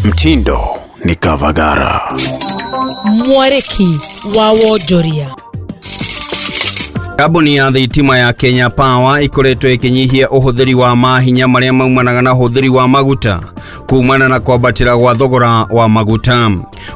Mtindo ni Kavagara. Mwarĩki wa wonjoria. Kambuni ya thitima ya Kenya Power ikoretwo ĩkĩnyihia ũhũthĩri wa mahinya marĩa maumanaga na ũhũthĩri wa maguta kumana na kwambatĩra gwa thogora wa maguta.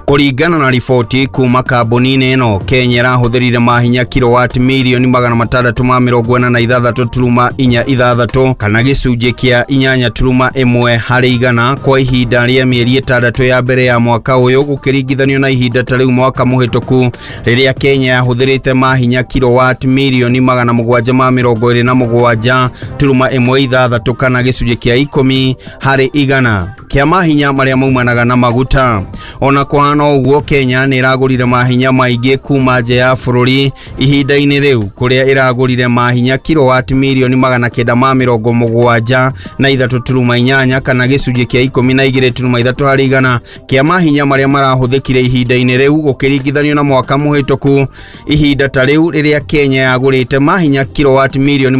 Kũringana na riboti kuma kambuni-inĩ ĩno, Kenya ĩrahũthĩrire mahinya kilowati mirioni 646.46 kana gĩcunjĩ kĩa 8.1 harĩ igana kwa ihinda rĩa mĩeri 6 ya mbere ya mwaka ũyũ gũkĩringithanio na ihinda ta rĩu mwaka mũhĩtũku rĩrĩa Kenya yahũthĩrĩte mahinya kilowati mirioni 727.16 kana gĩcunjĩ kĩa 10 harĩ igana kĩa mahinya marĩa maumanaga na maguta. Ona kũhana ũguo, Kenya nĩ ĩragũrire mahinya maingĩ kuma nja ya bũrũri ihinda-inĩ rĩu kũrĩa ĩragũrire mahinya kilowati mirioni 973.8 kana gĩcunjĩ kĩa 12.3 harĩ igana kĩa mahinya marĩa marahũthĩkire ihinda-inĩ rĩu gũkĩringithanio na mwaka mũhĩtũku ihinda ta rĩu rĩrĩa Kenya yagũrĩte mahinya kilowati mirioni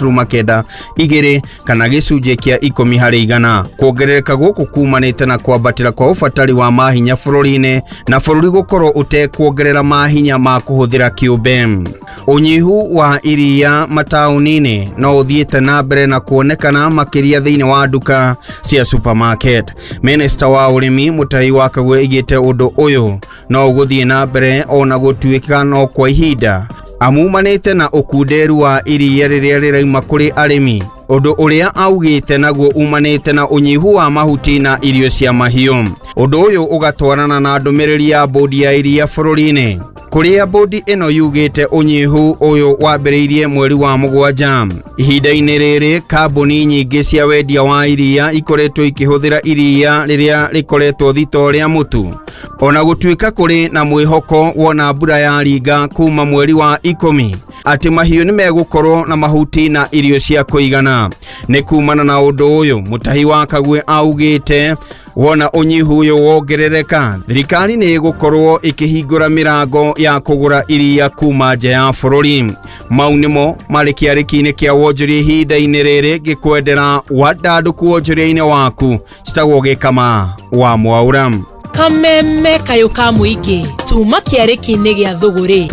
743.92 kana gĩcunjĩ kĩa 10 harĩ igana. Kuongerereka gũkũ kumanĩte na kwambatĩra kwa ũbatari wa mahinya bũrũri-inĩ na bũrũri gũkorwo ũtekuongerera mahinya ma kũhũthĩra kĩũmbe. Ũnyihu wa iria mataũni-inĩ no ũthiĩte na mbere na kuonekana makĩria thĩinĩ wa nduka cia supermarket. Minister wa ũrĩmi Mutahi wa Kagwe aigĩte ũndũ ũyũ no ũgũthiĩ na mbere ona gũtuĩka no kwa ihinda amumanĩte na ũkunderu wa iria rĩrĩa rĩrauma kũrĩ arĩmi, ũndũ ũrĩa augĩte naguo umanĩte na ũnyihu wa mahuti na irio cia mahiũ. Ũndũ ũyũ ũgatwarana na ndũmĩrĩri ya bodi ya iria bũrũri-inĩ kũrĩa bodi ĩno yugĩte ũnyihu ũyũ wambĩrĩirie mweri wa 7. Ihinda-inĩ rĩrĩ kambuni nyingĩ cia wendia wa iria ikoretwo ikĩhũthĩra iria rĩrĩa rĩkoretwo thito rĩa mũtu, ona gũtuĩka kũrĩ na mwĩhoko wona mbura ya ringa kuma mweri wa 10 atĩ mahiũ nĩ megũkorwo na mahuti na irio cia kũigana. Nĩ kumana na ũndũ ũyũ Mutahi wa Kagwe augĩte wona ũnyihu ũyũ wongerereka, thirikari nĩ ĩgũkorwo ĩkĩhingũra mĩrango ya kũgũra iria kuma nja ya bũrũri. Mau nĩmo marĩ kĩarĩki-inĩ kĩa wonjoria ihinda-inĩ rĩrĩ ngĩkwendera wandandũku wonjoria-inĩ waku. Citagwo Gĩkama wa Mwaura. Kameme kayũ ka mũingĩ tuma kĩarĩki-inĩ gĩa thũgũrĩ.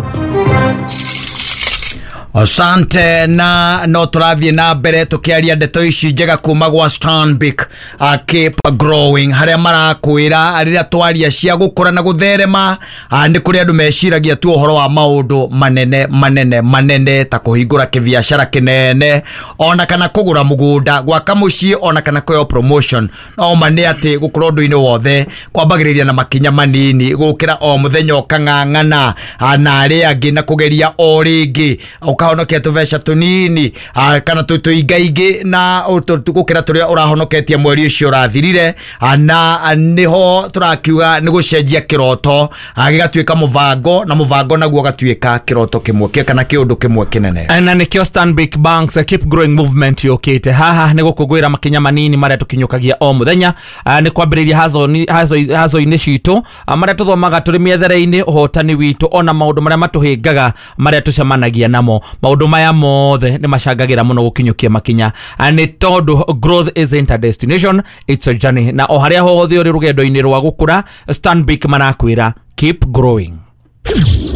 Asante na no tũrathiĩ na mbere tũkĩaria ndeto ici njega kuma gwa Stanbic Keep Growing harĩa marakwĩra rĩrĩa twaria cia gũkũra na gũtherema nĩ kũrĩ andũ meciragia tu ũhoro wa maũndũ manene manene manene ta kũhingũra kĩbiacara kĩnene ona kana kũgũra mũgũnda, gwaka mũciĩ ona kana kũheo promotion. No ma nĩ atĩ gũkũra ũndũ-inĩ wothe kwambagĩrĩria na makinya manini gũkĩra o mũthenya ũkang'ang'ana na arĩa angĩ na kũgeria o rĩngĩ ũkahonokia tũbeca tũnini kana tũingaingĩ na gũkĩra tũrĩa ũrahonoketie mweri ũcio ũrathirire, na nĩho tũrakiuga nĩ gũcenjia kĩroto gĩgatuĩka mũbango na mũbango naguo ũgatuĩka kĩroto kĩmwe kana kĩũndũ kĩmwe kĩnene. Na nĩkĩo Stanbic Banks Keep Growing Movement yũkĩte haha nĩ gũkũngũĩra makinya manini marĩa tũkinyũkagia o mũthenya, nĩ kwambĩrĩria hazo-inĩ citũ marĩa tũthomaga tũrĩ mĩethere-inĩ, ũhotani witũ ona maũndũ marĩa matũhĩngaga marĩa tũcemanagia namo. Maũndũ maya mothe nĩ macangagĩra mũno gũkinyũkia makinya, nĩ tondũ growth isn't a destination, it's a journey. Na o harĩa hothe ũrĩ rũgendo-inĩ rwa gũkũra, Stanbic marakwĩra keep growing.